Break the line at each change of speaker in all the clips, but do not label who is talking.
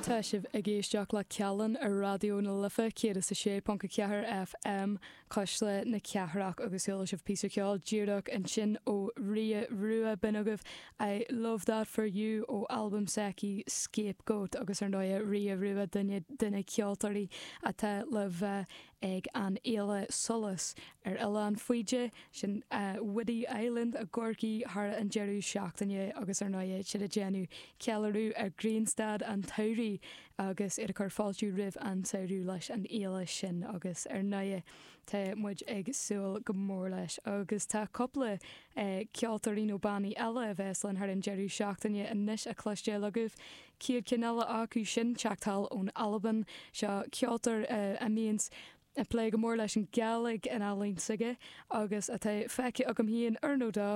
Tá sibh ag éisteacht le Callán ar Raidió na Life 106.4 FM, Cuisle na Cathrach agus chuala sibh píosa ceoil díreach ansin ó Ria Rua, b'in agaibh I Love That For You ó albam s'aici Scapegoat agus ar ndóighe Ria Rua duine de na ceoltóirí atá le bheith ag an fhéile Solas ar Oileán Faoide, sin Whiddy Island i gCorcaigh thar an deireadh seachtaine agus ar ndóighe siad ag déanamh ceiliúradh ar ghrianstad an tsamhraidh agus iad ag cur fáilte roimh an tsamhradh leis an fhéile sin agus ar ndóighe tá muid ag súil go mór leis agus tá cúpla ceoltóirí nó bannaí eile a bheas linn thar an deireadh seachtaine anois a chloisteáil agaibh. Chéad cheann eile acu sin teacht thall ón Albain. Seo ceoltóir a mbíonns ag plé go mór leis an Gàidhlig in ealaín s'aige agus atá feicthe agam féin uair nó dó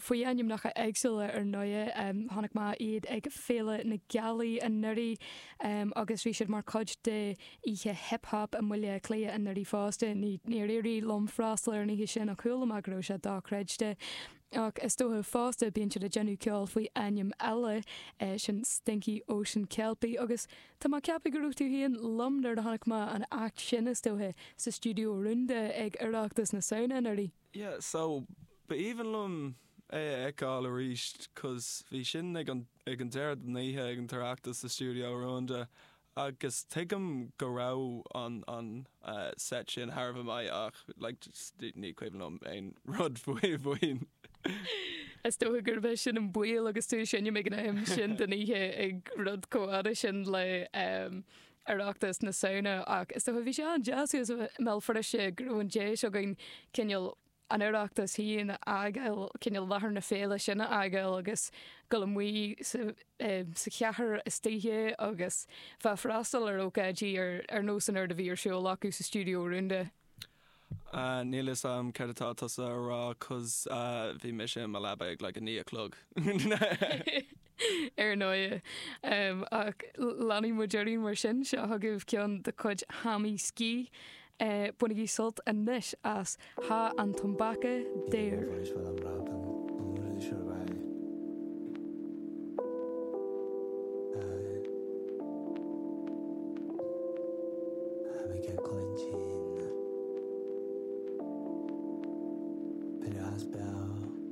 faoi ainmneacha éagsúla ar ndóighe. Chonaic mé iad ag Féile na Gealaí anuraidh agus bhí siad mar chuid de oíche hip hop i mBaile Átha Cliath anuraidh fosta. Níor éirigh liom freastal ar an oíche sin ach chuala mé go raibh sé dochreidte. Ach is dócha fosta bíonn siad ag déanamh ceoil faoi ainm eile, sin Stinky Ocean Kelpie agus tá mé ag ceapadh go raibh tú féin liom nuair a chonaic mé an act sin is dócha sa Stiúideo Rúnda ag Oireachtas na Samhna anuraidh.
Yeah, so ba aoibhinn liom é a fheiceáil arís 'cause bhí sin ag an ag an deireadh den oíche ag an tOireachtas sa Stiúideo Rúnda Agus tuigim go raibh an an set sin thar a bheith maith ach like just ní cuimhin liom aon rud faoi.
Is dócha gurb é sin an baol agus tú ag seinm ag an am sin den oíche ag rud chomh fada sin le Oireachtas na Samhna ach is dócha bhí sé an-deas thuas i mBéal Feirste go raibh an deis againn cineál an Oireachtas féin a fhágáil, cineál láthair na féile sin a fhágáil agus dul amuigh sa sa chathair istoíche agus bheith ag freastal ar ócáidí ar ar nós an rud a bhí ar siúl acu sa Stiúideo Rúnda.
Níl fhios a'm céard atá tusa a rá 'cause bhí mise i mo leaba ag like 9 a chlog.
Ar ndóighe. Ach leanfaidh muid orainn mar sin. Seo chugaibh ceann de chuid Hammy Ski. Bainigí sult anois as Tha an Tobac Daor.